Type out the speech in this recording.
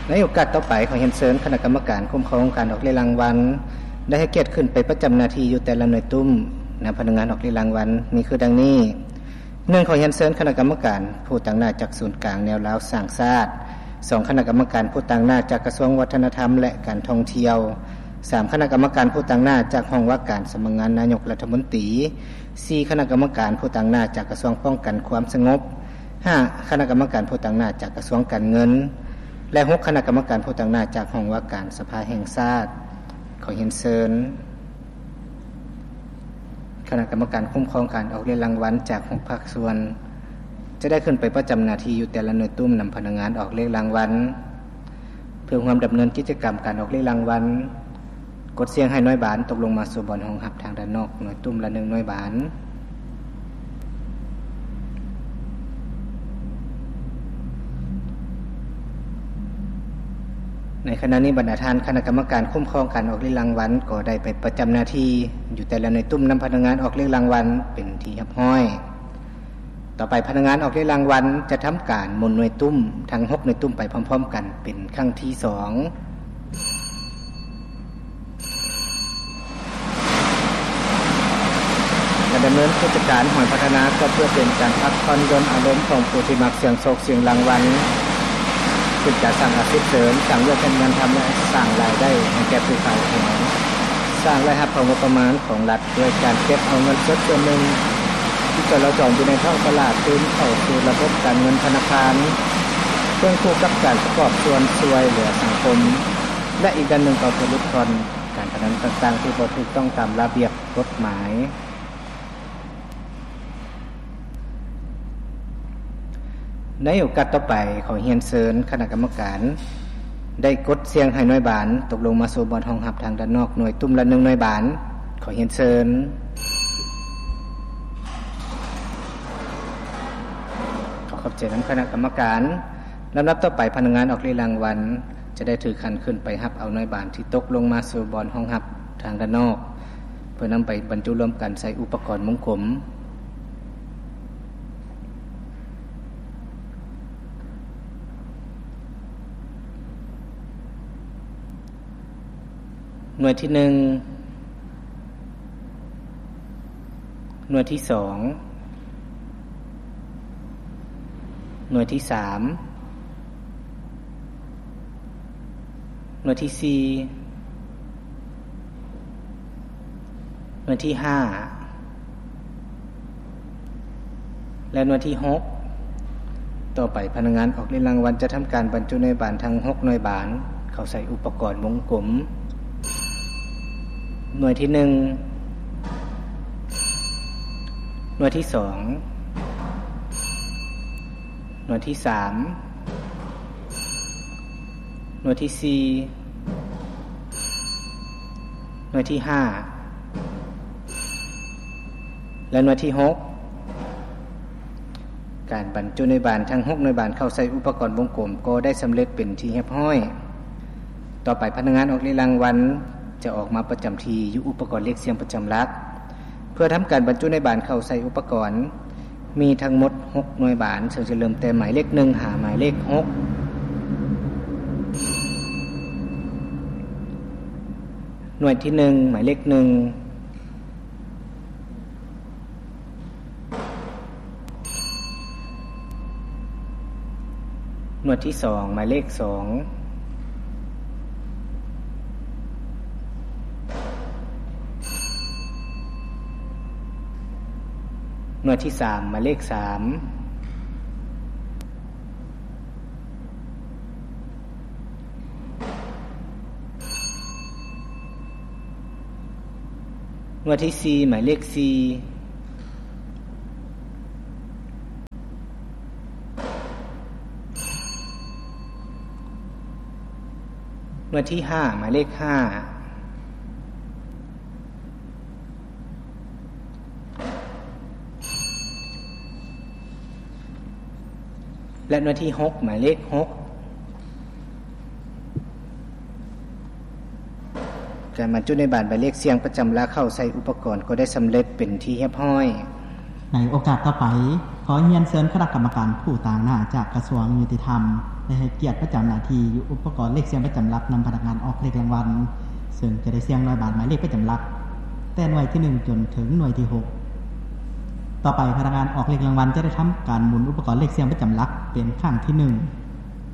ໃນໂອກາດຕໍ່ໄປ ຂໍຮຽນເຊີນຄະນະກຳມະການຄຸ້ມຄອງການອອກເລກລາງວັນ ໄດ້ໃຫ້ກຽດຂຶ້ນໄປປະຈຳໜ້າທີ່ຢູ່ແຕ່ລະໜ່ວຍຕຸ້ມນຳພະນັກງານອອກເລກລາງວັນ ມີຄືດັ່ງນີ້: ໜຶ່ງ ຂໍຮຽນເຊີນຄະນະກຳມະການຜູ້ຕາງໜ້າຈາກສູນກາງແນວລາວສ້າງຊາດ, ສອງ ຄະນະກຳມະການຜູ້ຕາງໜ້າຈາກກະຊວງວັດທະນະທຳ ແລະ ການທ່ອງທ່ຽວ, ສາມ ຄະນະກຳມະການຜູ້ຕາງໜ້າຈາກຫ້ອງວ່າການສຳນັກງານນາຍົກລັດຖະມົນຕີ, ສີ່ ຄະນະກຳມະການຜູ້ຕາງໜ້າຈາກກະຊວງປ້ອງກັນຄວາມສະຫງົບ, ຫ້າ ຄະນະກຳມະການຜູ້ຕາງໜ້າຈາກກະຊວງການເງິນ ແລະ ຫົກ ຄະນະກຳມະການຜູ້ຕາງໜ້າຈາກຫ້ອງວ່າການສະພາແຫ່ງຊາດ. ຂໍຮຽນເຊີນຄະນະກຳມະການຄຸ້ມຄອງການອອກເລກລາງວັນຈາກຫົກພາກສ່ວນ ຈະໄດ້ຂຶ້ນໄປປະຈຳໜ້າທີ່ຢູ່ແຕ່ລະໜ່ວຍຕຸ້ມນຳພະນັກງານອອກເລກລາງວັນ ເພື່ອຮ່ວມດຳເນີນກິດຈະກຳການອອກເລກລາງວັນ. ກົດສ່ຽງໃຫ້ໜ່ວຍບານຕົກລົງມາສູ່ບ່ອນຮອງຮັບທາງດ້ານນອກ ໜ່ວຍຕຸ້ມລະໜຶ່ງໜ່ວຍບານ. ໃນຂະນະນີ້ ບັນດາທ່ານຄະນະກຳມະການຄຸ້ມຄອງການອອກເລກລາງວັນ ກໍໄດ້ໄປປະຈຳໜ້າທີ່ຢູ່ແຕ່ລະໜ່ວຍຕຸ້ມນຳພະນັກງານອອກເລກລາງວັນເປັນທີ່ຮຽບຮ້ອຍ. ຕໍ່ໄປພະນັກງານອອກເລກລາງວັນຈະທຳການໝູນໜ່ວຍຕຸ້ມທັງຫົກໜ່ວຍຕຸ້ມໄປພ້ອມໆກັນເປັນຄັ້ງທີສອງ ແລະ ດຳເນີນກິດຈະການຫ້ອຍພັດທະນາ ກໍເພື່ອເປັນການພັກຜ່ອນຢ່ອນອາລົມຂອງຜູ້ທີ່ມັກສ່ຽງໂຊກສ່ຽງລາງວັນ, ເປັນການສ້າງອາຊີບເສີມ, ສ້າງວຽກເຮັດງານທຳ ແລະ ສ້າງລາຍໄດ້ໃຫ້ແກ່ຜູ້ຂາຍແຂງ, ສ້າງລາຍຮັບເຂົ້າງົບປະມານຂອງລັດ ດ້ວຍການເກັບເອົາເງິນສົດສ່ວນໜຶ່ງທີ່ຈະຫຼໍ່ຈອງຢູ່ໃນທ້ອງຕະຫຼາດຄືນເຂົ້າສູ່ລະບົບການເງິນທະນາຄານ, ຄວບຄູ່ກັບການປະກອບສ່ວນຊ່ວຍເຫຼືອສັງຄົມ ແລະ ອີກດ້ານໜຶ່ງກໍເພື່ອຫຼຸດຜ່ອນການພະນັນຕ່າງໆທີ່ບໍ່ຖືກຕ້ອງຕາມລະບຽບກົດໝາຍ. ໃນໂອກາດຕໍ່ໄປ ຂໍຮຽນເຊີນຄະນະກຳມະການໄດ້ກົດສ່ຽງໃຫ້ໜ່ວຍບານຕົກລົງມາສູ່ບ່ອນຮອງຮັບທາງດ້ານນອກ ໜ່ວຍຕຸ້ມລະໜຶ່ງໜ່ວຍບານ. ຂໍຮຽນເຊີນ. ຂໍຂອບໃຈນຳຄະນະກຳມະການ. ລຳດັບຕໍ່ໄປ ພະນັກງານອອກເລກລາງວັນຈະໄດ້ຖືກຂັນຂຶ້ນໄປຮັບເອົາໜ່ວຍບານທີ່ຕົກລົງມາສູ່ບ່ອນຮອງຮັບທາງດ້ານນອກ ເພື່ອນຳໄປບັນຈຸລວມກັນໃສ່ອຸປະກອນວົງກົມ. ໜ່ວຍທີໜຶ່ງ, ໜ່ວຍທີສອງ, ໜ່ວຍທີສາມ, ໜ່ວຍທີສີ່, ໜ່ວຍທີຫ້າ ແລະ ໜ່ວຍທີຫົກ. ຕໍ່ໄປພະນັກງານອອກເລກລາງວັນຈະທຳການບັນຈຸໜ່ວຍບານທັງຫົກໜ່ວຍບານເຂົ້າໃສ່ອຸປະກອນວົງກົມ. ໜ່ວຍທີໜຶ່ງ, ໜ່ວຍທີສອງ, ໜ່ວຍທີສາມ, ໜ່ວຍທີສີ່, ໜ່ວຍທີຫ້າ ແລະ ໜ່ວຍທີຫົກ. ການບັນຈຸໜ່ວຍບານທັງຫົກໜ່ວຍບານເຂົ້າໃສ່ອຸປະກອນວົງກົມກໍໄດ້ສຳເລັດເປັນທີ່ຮຽບຮ້ອຍ. ຕໍ່ໄປພະນັກງານອອກເລກລາງວັນຈະອອກມາປະຈຳທີ່ຢູ່ອຸປະກອນເລກສ່ຽງປະຈຳຫຼັກ ເພື່ອທຳການບັນຈຸໜ່ວຍບານເຂົ້າໃສ່ອຸປະກອນ. ມີທັງໝົດຫົກໜ່ວຍບານ ເຊິ່ງຈະເລີ່ມແຕ່ໝາຍເລກໜຶ່ງຫາໝາຍເລກຫົກ. ໜ່ວຍທີໜຶ່ງ ໝາຍເລກໜຶ່ງ. ໜ່ວຍທີສອງ ໝາຍເລກສອງ. ໜ່ວຍທີສາມ ໝາຍເລກສາມ. ໜ່ວຍທີສີ່ ໝາຍເລກສີ່. ໜ່ວຍທີຫ້າ ໝາຍເລກຫ້າ ແລະ ໜ່ວຍທີຫົກ ໝາຍເລກຫົກ. ການບັນຈຸໜ່ວຍບານໝາຍເລກສ່ຽງປະຈຳຫຼັກເຂົ້າໃສ່ອຸປະກອນກໍໄດ້ສຳເລັດເປັນທີ່ຮຽບຮ້ອຍ. ໃນໂອກາດຕໍ່ໄປ, ຂໍຮຽນເຊີນຄະນະກຳມະການຜູ້ຕາງໜ້າຈາກກະຊວງຍຸຕິທຳ ໄດ້ໃຫ້ກຽດປະຈຳໜ້າທີ່ຢູ່ອຸປະກອນເລກສ່ຽງປະຈຳຫຼັກນຳພະນັກງານອອກເລກລາງວັນ, ເຊິ່ງຈະໄດ້ສ່ຽງໜ່ວຍບາດໝາຍເລກປະຈຳຫຼັກ ແຕ່ໜ່ວຍທີໜຶ່ງຈົນເຖິງໜ່ວຍທີຫົກ. ຕໍ່ໄປພະນັກງານອອກເລກລາງວັນຈະໄດ້ທຳການໝູນອຸປະກອນເລກສ່ຽງປະຈຳຫຼັກເປັນຄັ້ງທີໜຶ່ງ.